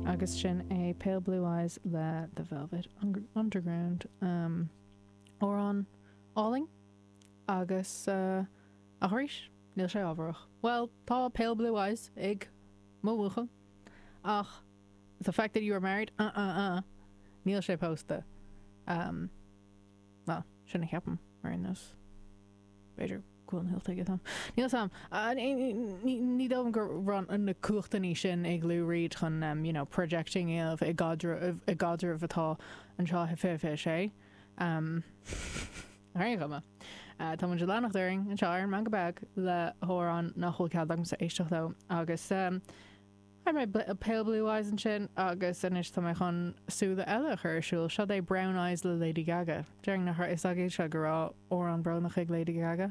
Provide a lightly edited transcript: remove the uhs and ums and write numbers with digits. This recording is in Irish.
Agus sin é Pale Blue Eyes le The Velvet Underground. Amhrán álainn agus ach arís, níl sé ábharach. Bhuel, tá Pale Blue Eyes ag mo bhuachaill ach the fact that you are married, uh uh uh, níl sé pósta. Bhuel, sin a cheapaim, ar aon nós. B'fhéidir go bhfuil an hilt aige, Níl 'fhios a'm. Ní dóigh liom go raibh na cumhachtanna sin ag Lou Reed chun you know projecting a dhéanamh i gcaidreamh i gcaidreamh atá anseo i 2026. Ar aon chuma, tá muid ag leanacht orainn anseo ar an Meangadh Beag le hamhrán nach bhfuil cead agamsa éisteacht leo agus Chuir mé Pale Blue Eyes ansin agus anois tá mé chun súile eile a chur ar siúl. Seo é Brown Eyes le Lady Gaga. Déarfainn nach raibh fhios agaibhse go raibh amhrán brónach ag Lady Gaga.